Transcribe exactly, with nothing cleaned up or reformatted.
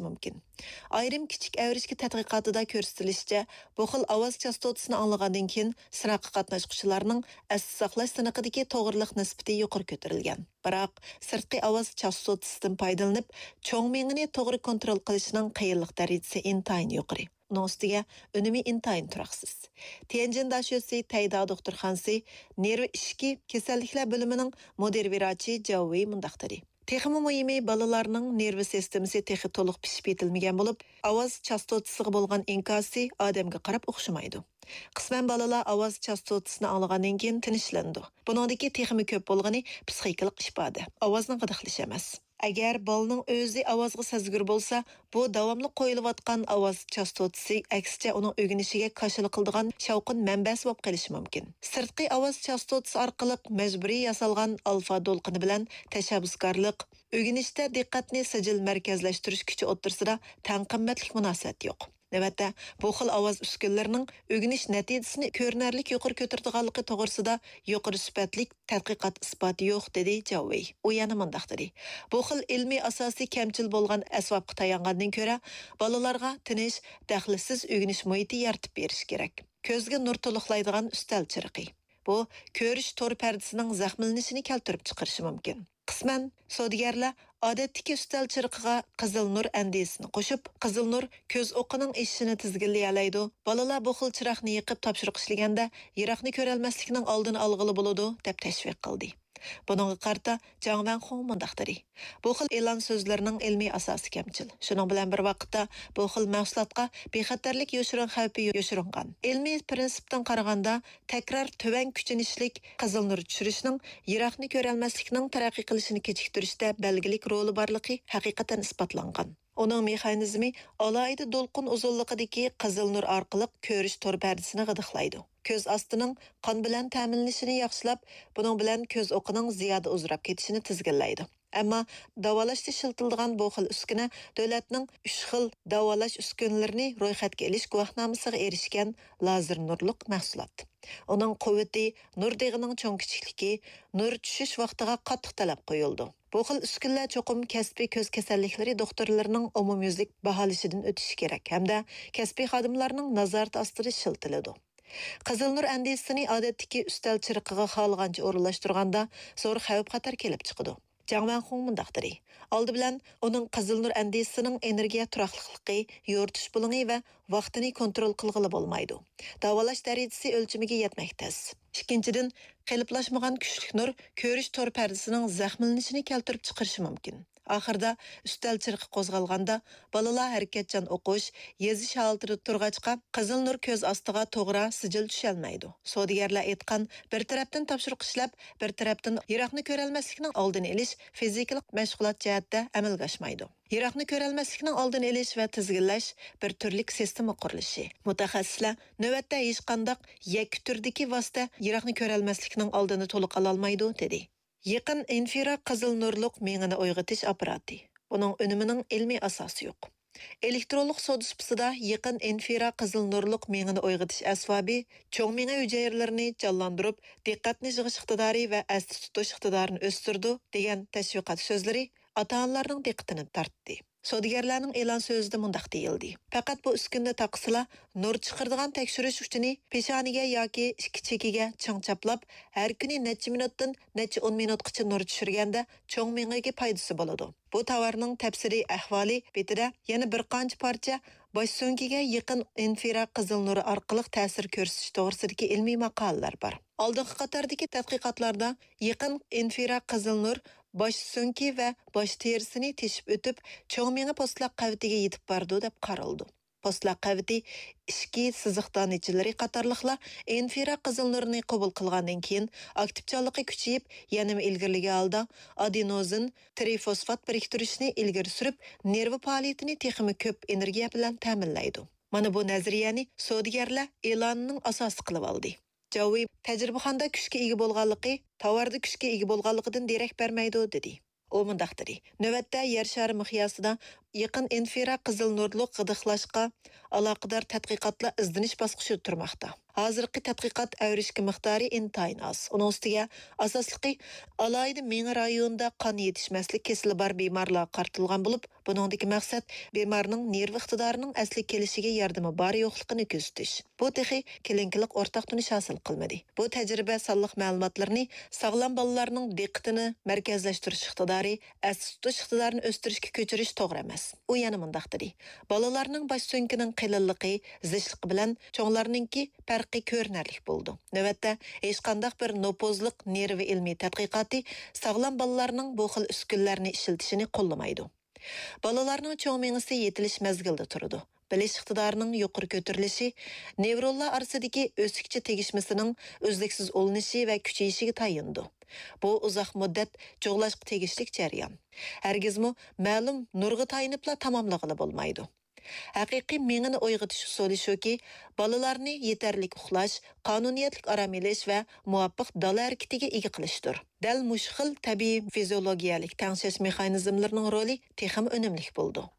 مۇمكىن. ئايرىم كىچىك ئەۋرىشكە تەتقىقاتىدا كۆرسىتىلىشىچە، بۇ خىل ئاۋاز چاستوتىسىنى ئاڭلىغاندىن كېيىن سىناققا قاتناشقۇچىلارنىڭ ئەستە ساقلاش سىنىقىدىكى توغرىلىق نىسبىتى يۇقىرى كۆتۈرۈلگەن. بىراق، سىرتقى ئاۋاز چاستوتىسىدىن پايدىلىنىپ، چوڭ مېڭىنى توغرا كونترول قىلىشنىڭ قىيىنلىق دەرىجىسى ئىنتايىن يۇقىرى. ئۇنىڭ ئۈستىگە ئۈنۈمى ئىنتايىن تۇراقسىز. تيەنجىن داشۆسى تەيدا دوختۇرخانىسى نېرۋا ئىچكى كېسەللىكلەر بۆلۈمىنىڭ مۇدىر ۋىراچى جاۋ ۋېي مۇنداق دېدى: تېخىمۇ مۇھىمى، بالىلارنىڭ نېرۋا سىستېمىسى تېخى تولۇق پىشىپ يېتىلمىگەن بولۇپ، ئاۋاز چاستوتىسىغا بولغان ئىنكاسى ئادەمگە قاراپ ئوخشىمايدۇ. قىسمەن بالىلار ئاۋاز چاستوتىسىنى ئاڭلىغاندىن كېيىن تىنچلىنىدۇ. بۇنىڭدىكى تېخىمۇ كۆپ بولغىنى پسىخىكىلىق ئىپادە، ئاۋازنى غىدىقلىشى ئەمەس. ئەگەر بالىنىڭ ئۆزى ئاۋازغا سەزگۈر بولسا، بۇ داۋاملىق قويۇلۇۋاتقان ئاۋاز چاستوتىسى، ئەكسىچە، ئۇنىڭ ئۆگىنىشىگە كاشىلا قىلىدىغان شاۋقۇن مەنبەسى بولۇپ قېلىشى مۇمكىن. سىرتقى ئاۋاز چاستوتىسى ئارقىلىق مەجبۇرىي ياسالغان ئالفا دولقۇنى بىلەن تەشەببۇسكارلىق، ئۆگىنىشتە دىققەتنى سىجىل مەركەزلەشتۈرۈش كۈچى ئوتتۇرىسىدا تەڭ قىممەتلىك مۇناسىۋەت يوق. نۆۋەتتە، بۇ خىل ئاۋاز ئۈسكۈنىلىرىنىڭ ئۆگىنىش نەتىجىسىنى كۆرۈنەرلىك يۇقىرى كۆتۈرىدىغانلىقى توغرىسىدا يۇقىرى سۈپەتلىك تەتقىقات ئىسپاتى يوق، دېدى جاۋ ۋېي. ئۇ يەنە مۇنداق دېدى: بۇ خىل ئىلمىي ئاساسى كەمچىل بولغان ئەسۋابقا تايانغاندىن كۆرە، بالىلارغا تىنچ، دەخلىسىز ئۆگىنىش مۇھىتى يارىتىپ بېرىش كېرەك. كۆزگە نۇر تولۇقلايدىغان ئۈستەل چىرىقى. بۇ كۆرۈش تور پەردىسىنىڭ زەخىملىنىشىنى كەلتۈرۈپ چىقىرىشى مۇمكىن. قىسمەن سودىگەرلەر ئادەتتىكى ئۈستەل چىرىقىغا قىزىل نۇر ئەندىزىسىنى قوشۇپ، قىزىل نۇر كۆز ئوقىنىڭ ئېشىشىنى تىزگىنلىيەلەيدۇ، بالىلار بۇ خىل چىراغنى يېقىپ تاپشۇرۇق ئىشلىگەندە يىراقنى كۆرەلمەسلىكنىڭ ئالدىنى ئالغىلى بولىدۇ، دەپ تەشۋىق قىلدى. بۇنىڭغا قارىتا جاڭ ۋەنخۇڭ مۇنداق دېدى: بۇ خىل ئېلان سۆزلىرىنىڭ ئىلمىي ئاساسى كەمچىل. شۇنىڭ بىلەن بىر ۋاقىتتا، بۇ خىل مەھسۇلاتقا بىخەتەرلىك يوشۇرۇن خەۋپى يوشۇرۇنغان. ئىلمىي پىرىنسىپتىن قارىغاندا، تەكرار تۆۋەن كۈچىنىشلىك قىزىل نۇر چۈشۈرۈشنىڭ يىراقنى كۆرەلمەسلىكنىڭ تەرەققىي قىلىشىنى كېچىكتۈرۈشتە بەلگىلىك رولى بارلىقى ھەقىقەتەن ئىسپاتلانغان. ئۇنىڭ مېخانىزمى ئالاھىدە دولقۇن ئۇزۇنلۇقىدىكى قىزىل نۇر ئارقىلىق كۆرۈش تور پەردىسىنى غىدىقلايدۇ. كۆز ئاستىنىڭ قان بىلەن تەمىنلىنىشىنى ياخشىلاپ، بۇنىڭ بىلەن كۆز ئوقىنىڭ زىيادە ئۇزىراپ كېتىشىنى تىزگىنلەيدۇ. ئەمما داۋالاشتا ئىشلىتىلىدىغان بۇ خىل ئۈسكۈنە دۆلەتنىڭ ئۈچ خىل داۋالاش ئۈسكۈنىلىرىنى رويخەتكە ئېلىش گۇۋاھنامىسىغا ئېرىشكەن لازېر نۇرلۇق مەھسۇلات. ئۇنىڭ قۇۋۋىتى، نۇر دېغىنىڭ چوڭ كىچىكلىكى، نۇر چۈشۈش ۋاقتىغا قاتتىق تەلەپ قويۇلىدۇ. بۇ خىل ئۈسكۈنىلەر چوقۇم كەسپىي كۆز كېسەللىكلىرى دوختۇرلىرىنىڭ ئومۇميۈزلۈك باھالىشىدىن ئۆتۈشى كېرەك ھەمدە كەسپىي خادىملارنىڭ نازارىتى ئاستىدا ئىشلىتىلىدۇ. قىزىل نۇر ئەندىزىسىنى ئادەتتىكى ئۈستەل چىرىقىغا خالىغانچە ئورۇنلاشتۇرغاندا زور خەۋپ-خەتەر كېلىپ چىقىدۇ. جاڭ ۋەنخۇڭ مۇنداق دېدى: ئالدى بىلەن، ئۇنىڭ قىزىل نۇر ئەندىزىسىنىڭ ئېنېرگىيە تۇراقلىقلىقى، يورۇتۇش بۇلۇڭى ۋە ۋاقتىنى كونترول قىلغىلى بولمايدۇ. داۋالاش دەرىجىسى ئۆلچىمىگە يەتمەك تەس. ئىككىنچىدىن، قېلىپلاشمىغان كۈچلۈك نۇر كۆرۈش تور پەردىسىنىڭ زەخىملىنىشىنى كەلتۈرۈپ چىقىرىشى مۇمكىن. ئاخىرىدا ئۈستەل چىرىقى قوزغالغاندا، بالىلار ھەرىكەتچان ئوقۇش، يېزىش ھالىتىدە تۇرغاچقا، قىزىل نۇر كۆز ئاستىغا توغرا سىجىل چۈشەلمەيدۇ. سودىگەرلەر ئېيتقان، بىر تەرەپتىن تاپشۇرۇق ئىشلەپ، بىر تەرەپتىن يىراقنى كۆرەلمەسلىكنىڭ ئالدىنى ئېلىش فىزىكىلىق مەشغۇلات جەھەتتە ئەمەلگە ئاشمايدۇ. يىراقنى كۆرەلمەسلىكنىڭ ئالدىنى ئېلىش ۋە تىزگىنلەش بىر تۈرلۈك سىستېما قۇرۇلۇشى. مۇتەخەسسىسلەر نۆۋەتتە ھېچقانداق يەككە تۈردىكى ۋاسىتە يىراقنى كۆرەلمەسلىكنىڭ ئالدىنى تولۇق ئالالمايدۇ، دېدى. يېقىن ئىنفرا قىزىل نۇرلۇق مېڭىنى ئويغىتىش ئاپپاراتى. بۇنىڭ ئۈنۈمىنىڭ ئىلمىي ئاساسى يوق. ئېلېكترونلۇق سودا سۇپىسىدا يېقىن ئىنفرا قىزىل نۇرلۇق مېڭىنى ئويغىتىش ئەسۋابى چوڭ مېڭە ھۈجەيرىلىرىنى جانلاندۇرۇپ، دىققەتنى يىغىش ئىقتىدارى ۋە ئەستە تۇتۇش ئىقتىدارىنى ئۆستۈرىدۇ، دېگەن تەشۋىقات سۆزلىرى ئاتا-ئانىلارنىڭ دىققىتىنى تارتتى. سودىگەرلەرنىڭ ئېلان سۆزىدە مۇنداق دېيىلدى: پەقەت بۇ ئۈسكۈنىنى تاقىسىلا، نۇر چىقىرىدىغان تەكشۈرۈش ئۇچىنى پېشانىگە ياكى ئىككى چېكىگە چىڭ چاپلاپ، ھەر كۈنى نەچچە مىنۇتتىن نەچچە ئون مىنۇتقىچە نۇر چۈشۈرگەندە، چوڭ مېڭىگە پايدىسى بولىدۇ. بۇ تاۋارنىڭ تەپسىلىي ئەھۋالى بېتىدە يەنە بىر قانچە پارچە باش سۆڭىكىگە يېقىن ئىنفرا قىزىل نۇرى ئارقىلىق تەسىر كۆرسىتىش توغرىسىدىكى ئىلمىي ماقالىلەر بار. ئالدىنقى قاتاردىكى تەتقىقاتلاردا يېقىن ئىنفرا قىزىل نۇر باش سۆڭىكى ۋە باش تېرىسىنى تېشىپ ئۆتۈپ، چوڭ مېڭە پوستلاق قەۋىتىگە يېتىپ بارىدۇ، دەپ قارىلىدۇ. پوستلاق قەۋىتى، ئىچكى سىزىق دانىچىلىرى قاتارلىقلار ئىنفرا قىزىل نۇرىنى قوبۇل قىلغاندىن كېيىن، ئاكتىپچانلىقى كۈچىيىپ، يەنىمۇ ئىلگىرىلىگەن ھالدا ئادېنوزىن ترىفوسفات بىرىكتۈرۈشنى ئىلگىرى سۈرۈپ، نېرۋا پائالىيىتىنى تېخىمۇ كۆپ ئېنېرگىيە بىلەن تەمىنلەيدۇ. مانا بۇ نەزەرىيەنى سودىگەرلەر ئېلانىنىڭ ئاساسى قىلىۋالدى. جاۋ ۋېي تەجرىبىخانىدا كۈچكە ئىگە بولغانلىقى، تاۋاردا كۈچكە ئىگە بولغانلىقىدىن دېرەك بەرمەيدۇ، دېدى. ئۇ مۇنداق دېدى: نۆۋەتتە يەر شارى مىقياسىدا يېقىن ئىنفرا قىزىل نۇرلۇق غىدىقلاشقا ئالاقىدار تەتقىقاتلار ئىزدىنىش باسقۇچىدا تۇرماقتا. ھازىرقى تەتقىقات ئەۋرىشكە مىقدارى ئىنتايىن ئاز. ئۇنىڭ ئۈستىگە ئاساسلىقى ئالاھىدە مېڭە رايونىدا قان يېتىشمەسلىك كېسىلى بار بىمارلارغا قارىتىلغان بولۇپ، بۇنىڭدىكى مەقسەت بىمارنىڭ نېرۋا ئىقتىدارىنىڭ ئەسلىگە كېلىشىگە ياردىمى بار يوقلۇقىنى كۆزىتىش. بۇ تېخى كلىنىكىلىق ئورتاق تونۇش ھاسىل قىلمىدى. بۇ تەجرىبە سانلىق مەلۇماتلىرىنى ساغلام بالىلارنىڭ دىققىتىنى مەركەزلەشتۈرۈش ئىقتىدارى، ئەستە تۇتۇش ئىقتىدارىنى ئۆستۈرۈشكە كۆچۈرۈش توغرا ئەمەس. ئۇ يەنە مۇنداق دېدى: بالىلارنىڭ باش سۆڭىكىنىڭ قېلىنلىقى، زىچلىقى بىلەن چوڭلارنىڭكى پەرقى كۆرۈنەرلىك بولىدۇ. نۆۋەتتە ھېچقانداق بىر نوپۇزلۇق نېرۋا ئىلمىي تەتقىقاتى ساغلام بالىلارنىڭ بۇ خىل ئۈسكۈنىلەرنى ئىشلىتىشىنى قوللىمايدۇ. بالىلارنىڭ چوڭ مېڭىسى يېتىلىش مەزگىلىدە تۇرىدۇ. بىلىش ئىقتىدارىنىڭ يۇقىرى كۆتۈرۈلۈشى نېۋرونلار ئارىسىدىكى ئۆسۈكچە تېگىشمىسىنىڭ ئۈزلۈكسىز ئۇلىنىشى ۋە كۈچىيىشىگە تايىنىدۇ. بۇ ئۇزاق مۇددەت جۇغلاشقا تېگىشلىك جەريان. ھەرگىزمۇ مەلۇم نۇرغا تايىنىپلا تاماملىغىلى بولمايدۇ. ھەقىقىي مېڭىنى ئويغىتىش ئۇسۇلى شۇكى، بالىلارنى يېتەرلىك ئۇخلاش، قانۇنىيەتلىك ئارام ئېلىش ۋە مۇۋاپىق دالا ھەرىكىتىگە ئىگە قىلىشتۇر. دەل مۇشۇ خىل تەبىئىي فىزىيولوگىيەلىك تەڭشەش مېخانىزملىرىنىڭ رولى تېخىمۇ ئۈنۈملۈك بولىدۇ.